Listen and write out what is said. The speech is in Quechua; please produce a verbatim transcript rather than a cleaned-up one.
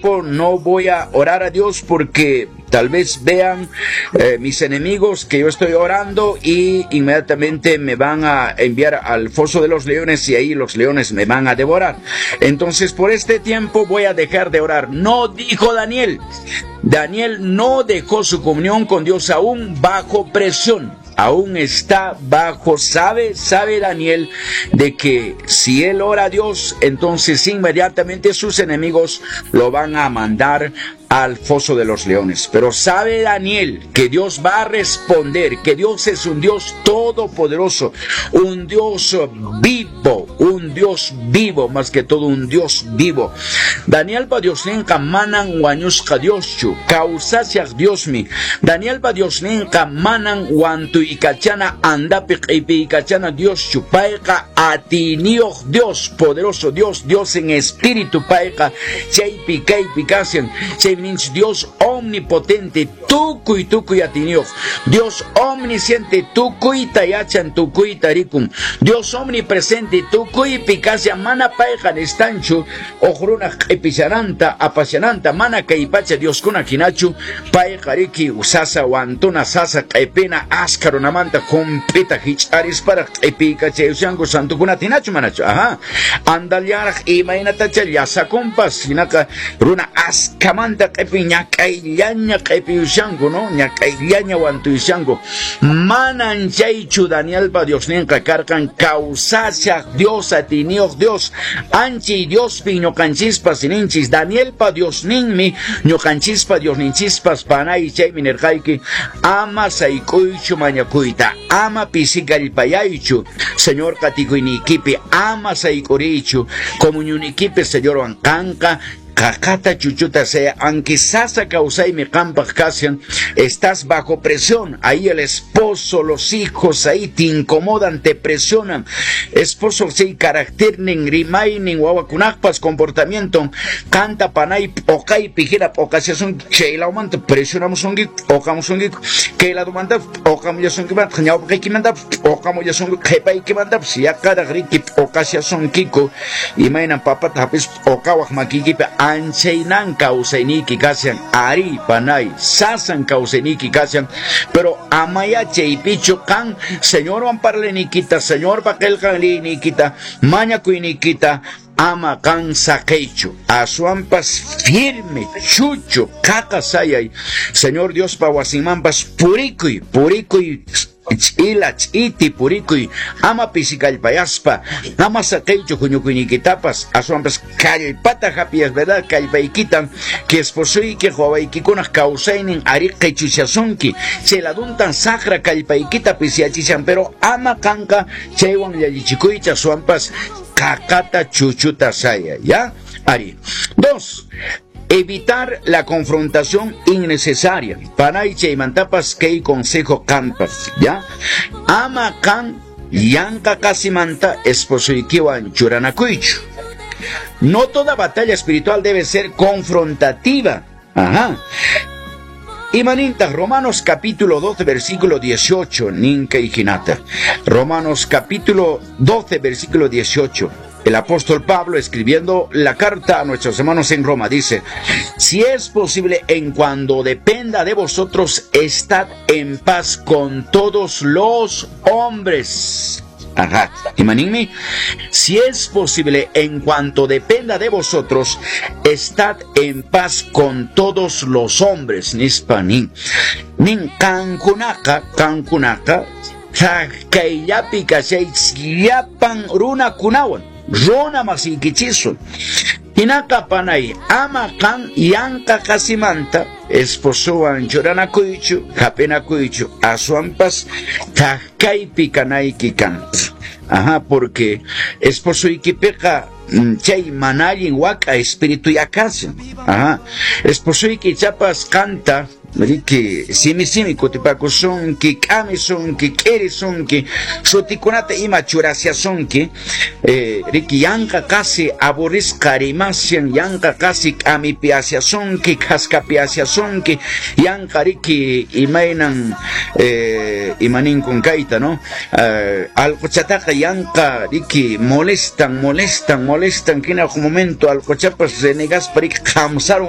tiempo no voy a orar a Dios porque tal vez vean eh, mis enemigos que yo estoy orando y inmediatamente me van a enviar al foso de los leones y ahí los leones me van a devorar. Entonces por este tiempo voy a dejar de orar. No dijo Daniel. Daniel no dejó su comunión con Dios aún bajo presión. Aún está bajo, sabe, sabe Daniel de que si él ora a Dios, entonces inmediatamente sus enemigos lo van a mandar al foso de los leones. Pero sabe Daniel que Dios va a responder, que Dios es un Dios todopoderoso, un Dios vivo, un Dios vivo, más que todo un Dios vivo. Danielpa Diosninqa manan wañusqa Dioschu, kawsashaq Diosmi. Danielpa Diosninqa manan wantuykachana andapi q'ipiykachana Dioschu. Payqa atiyniyuq Dios, poderoso Dios, Dios en espíritu payqa chaypi kaypi kashan. Chay Dios omnipotente, tukuy tukuy atiyniyuq. Dios omnisciente, tukuyta yachan, tukuyta rikun. Dios omnipresente, tukuypi kashan, mana payqa nistanchu, huk runaq q'ipishananta, apashananta, mana kay pacha Dioskuna hinachu, payqa riki sasa wantuna, sasa q'ipina, askha runamanta hump'ita hich'arisparaq q'ipiykachayushanku santukunata hinachu manachu. Ajá. Andallaraq imaynatacha llasakunpas, hinaqa runa askhamanta q'ipin ñak'ayllaña q'ipiyushanku, ¿no? Ñak'ayllaña wantuyushanku. Manan chaychu Danielpa Diosninqa karqan, kawsashaq Dios, atiyniyuq Dios, anchay Diospi ñuqanchispas ninchis. Danielpa Diosninmi ñuqanchispa Diosninchispas panay chaymi nirqayki, ama sayk'uychu mañakuyta, ama pisikallpayaychu Señor qatikuyniykipi, ama sayk'uriychu comunionikipi Señorwan qanqa qaqata chuchuta sea, aunque sasa kawsaymi qampaq kashan, estás bajo presión, ahí el esposo, los hijos ahí te incomodan, te presionan. Esposo sí, carácter nin, rimaynin, wawakunaqpas comportamiento, canta panay, p'uqaypi hina p'uqashasunki, chay lawmanta presionamusunki, p'uqamusunki, kay ladumanta p'uqamullasunkimantaj, ñawpaqaykimanta p'uqamullasunki, qhipaykimantapas yaqaraq riki p'uqashasunkiku, imaynan papata hap'ispa p'uqawaq makiykipi, anchaynan kawsayniyki kashan, ari panay, sasan kawsayniyki kashan, pero amaya chaypichu qan Señorwan parlayniykita, Señorpa qillqan liyniykita, mañakuyniykita, ama qan saqeychu, aswanpas firme, chuchu, qaqa sayay, Señor Diospa wasinmanpas purikuy, purikuy, ch'ila ch'iti purikuy, ama pisikallpayaspa, ama saqeychu huñukuyniykitapas, aswanpas kallpata hap'iyas, verdad, kallpaykitan, que esposoyki wawaykikunaq kawsaynin ari qichushasunki, chay laduntan saqra kallpaykita pisiyachishan, pero ama qanqa chaywan llallichikuychu, aswanpas qaqata chuchuta saya, ¿ya? Ari. Dos, evitar la confrontación innecesaria. Panay chaymantapas kay consejo qampas, ¿ya? Ama qan yanqa qasimanta esposoykiwan churanakuychu. No toda batalla espiritual debe ser confrontativa. Ajá. Imanintaq Romanos capítulo doce versículo dieciocho, nin kay hinata. Romanos capítulo doce versículo dieciocho. El apóstol Pablo, escribiendo la carta a nuestros hermanos en Roma, dice: si es posible, en cuanto dependa de vosotros, estad en paz con todos los hombres. Ajá. Imaninmi, si es posible, en cuanto dependa de vosotros, estad en paz con todos los hombres. Nispa nin. Nin qankunaqa, qankunaqa, kayllapi kashaychis llapan runakunawan, runa masiykichiswan. Hinaqa panay, ama qan yanqa qasimanta esposowan churanakuychu, hap'inakuychu, aswanpas thak-kaypi kanayki kan. Ajá, porque esposoykipiqa chay mana allin wak'a espíritu kashan. Ajá, esposoyki ichapas qanta riki simi simi kutipakusunki, k'amisunki, k'irisunki, sutikunata ima churashasunki, eh, riki yanqa qasi aburrisqa rimashan, yanqa qasi k'amipiashasunki, khaskapiashasunki, yanqa riki imaynan eh, imaninkun kayta, ¿no? Eh, allquchataqa yanqa riki molestan, molestan, molestan, hina huk momento allquchapas renegaspa riki qhamsarun.